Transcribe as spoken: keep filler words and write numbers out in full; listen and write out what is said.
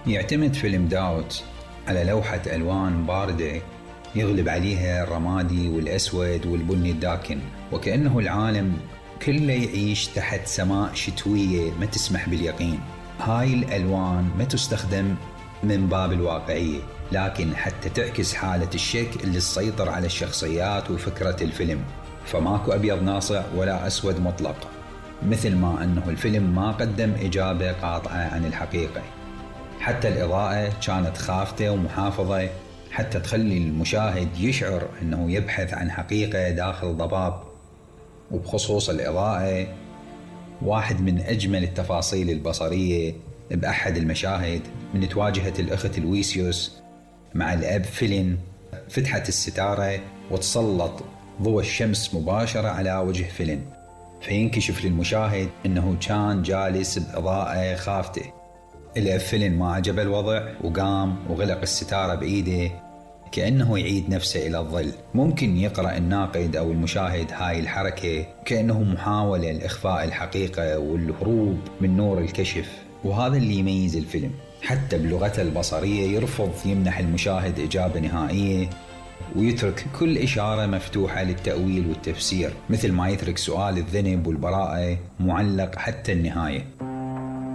يعتمد فيلم داوت على لوحة ألوان باردة يغلب عليها الرمادي والأسود والبني الداكن، وكأنه العالم كله يعيش تحت سماء شتوية ما تسمح باليقين. هاي الألوان ما تستخدم من باب الواقعية، لكن حتى تعكس حالة الشك اللي تسيطر على الشخصيات وفكرة الفيلم. فماكو أبيض ناصع ولا أسود مطلق، مثل ما أنه الفيلم ما قدم إجابة قاطعة عن الحقيقة. حتى الإضاءة كانت خافتة ومحافظة حتى تخلي المشاهد يشعر أنه يبحث عن حقيقة داخل ضباب. وبخصوص الإضاءة، واحد من أجمل التفاصيل البصرية بأحد المشاهد من تواجهت الأخت لويسيوس مع الأب فيلين، فتحت الستارة وتسلط ضوء الشمس مباشرة على وجه فيلين، فينكشف للمشاهد أنه كان جالس بإضاءة خافتة. الأب فيلين ما عجب الوضع وقام وغلق الستارة بإيده كأنه يعيد نفسه إلى الظل. ممكن يقرأ الناقد أو المشاهد هاي الحركة كأنه محاولة لإخفاء الحقيقة والهروب من نور الكشف، وهذا اللي يميز الفيلم. حتى بلغته البصرية يرفض يمنح المشاهد إجابة نهائية، ويترك كل إشارة مفتوحة للتأويل والتفسير، مثل ما يترك سؤال الذنب والبراءة معلق حتى النهاية.